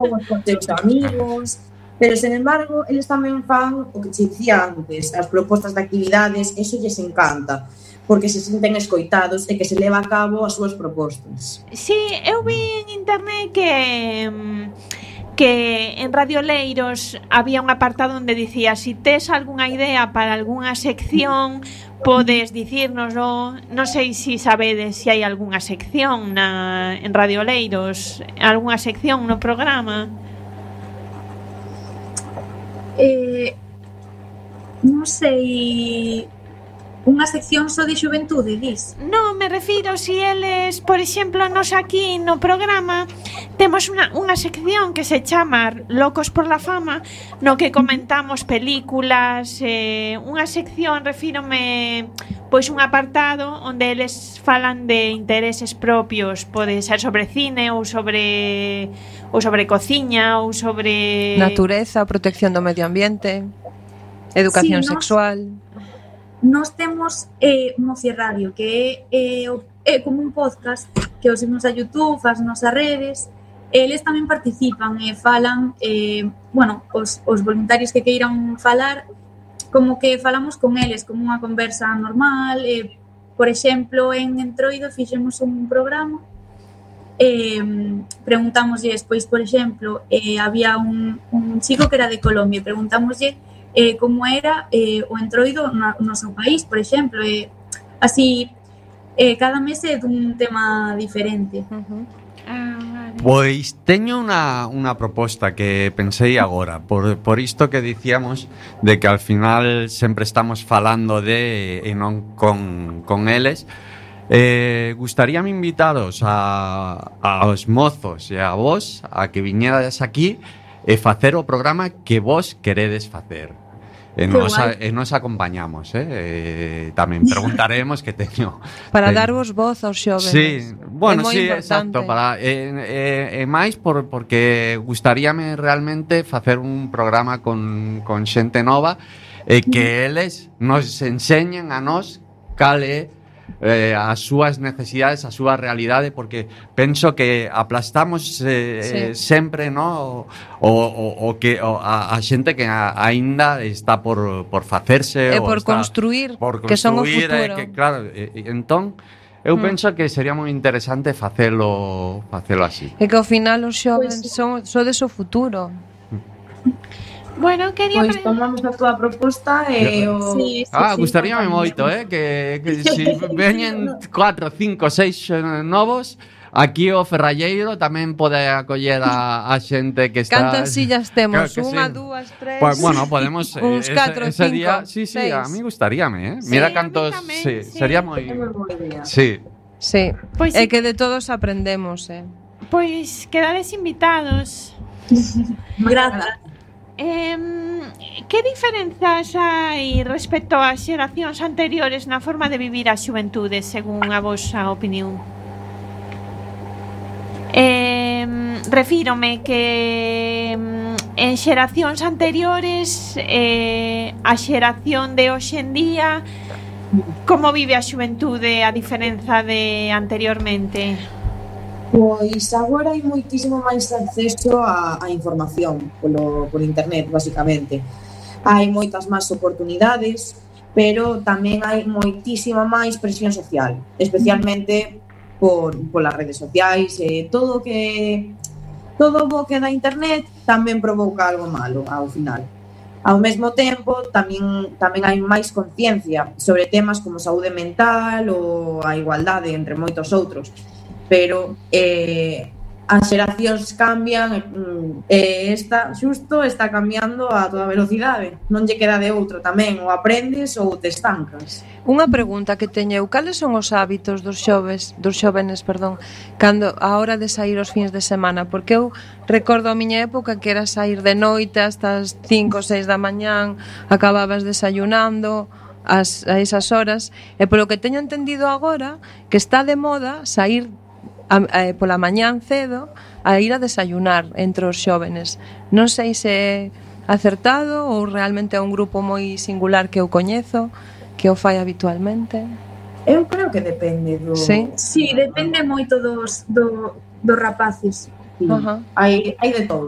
os con teus amigos, pero, sen embargo, eles tamén fan o que che dicía antes, as propostas de actividades, eso lles encanta, porque se senten escoitados e que se leva a cabo as súas propostas. Sí, eu vi en internet que en Radio Leiros había un apartado onde dicía si tes algunha idea para algunha sección podes dicírnoslo. Non sei se sabedes se hai algunha sección en Radio Leiros, algunha sección no programa. Non sei. Unha sección só de xuventude, dis? Non, me refiro si eles, por exemplo, nos aquí no programa temos unha sección que se chama Locos por la Fama, no que comentamos películas, unha sección, refírome, pois un apartado onde eles falan de intereses propios, pode ser sobre cine ou sobre cociña ou sobre natureza, protección do medio ambiente, educación sexual. Nós temos Moci Radio, que é como un podcast que os imos a YouTube, as nosas redes. Eles tamén participan e falan, os voluntarios que queiran falar, como que falamos con eles, como unha conversa normal. Por exemplo, en Entroido fixemos un programa, preguntámoslle, pois, por exemplo, había un chico que era de Colombia, preguntámoslle como era o Entroido no seu país, por exemplo, así cada mes é dun tema diferente. Pois teño unha proposta que pensei agora, por isto que dicíamos de que al final sempre estamos falando e non con eles. Gustaríame invitaros aos mozos e a vos a que viñerades aquí e facer o programa que vos queredes facer. E nos acompañamos, tamén preguntaremos que teño para darvos voz aos xóvenes. Sí, bueno, sí, importante. Exacto, para máis porque gustaríame realmente facer un programa con xente nova e que eles nos enseñen a nós cal é as súas necesidades, a súa realidade, porque penso que aplastamos sempre, no, a xente que aínda está por facerse e por construir, que son o futuro. Claro, entón eu penso que sería moi interesante facelo así. E que ao final os xóvenes sodes o futuro. Bueno, quería pois tomamos a túa proposta e gustaríame moito, que si veñen 4, 5, 6 novos, aquí o Ferralleiro tamén pode acoller a xente que está. Cantas sillas temos? Unha, dúas, tres. Pues, bueno, podemos uns 4, 5, ese día, sí, 6. a mí gustaríame, Sí, mira cantos, sí. sería moi. Sí. Sí. Pois é que de todos aprendemos, Pois quedades invitados. Grazas. Que diferenzas hai respecto ás xeracións anteriores na forma de vivir a xuventude, según a vosa opinión? Refírome que en xeracións anteriores a xeración de hoxe en día, como vive a xuventude a diferenza de anteriormente? Pois agora hai moitísimo máis acceso a información por internet, basicamente. Hai moitas máis oportunidades, pero tamén hai moitísima máis presión social, especialmente polas redes sociais, todo o que da internet tamén provoca algo malo ao final. Ao mesmo tempo, tamén hai máis conciencia sobre temas como saúde mental ou a igualdade, entre moitos outros. Pero as xeracións cambian e esta xusto está cambiando a toda velocidade. Non lle queda de outro tamén, ou aprendes ou te estancas. Unha pregunta que teño, cales son os hábitos dos xóvenes, cando a hora de sair os fins de semana? Porque eu recordo a miña época que era sair de noite hasta as 5 ou 6 da mañán, acababas desayunando a esas horas, e polo que teño entendido agora, que está de moda sair pola mañán cedo a ir a desayunar entre os xóvenes. Non sei se é acertado ou realmente é un grupo moi singular que eu coñezo, que o fai habitualmente. Eu creo que depende do... Sí, depende moito dos rapaces. Sí. Ajá. Hai de todo.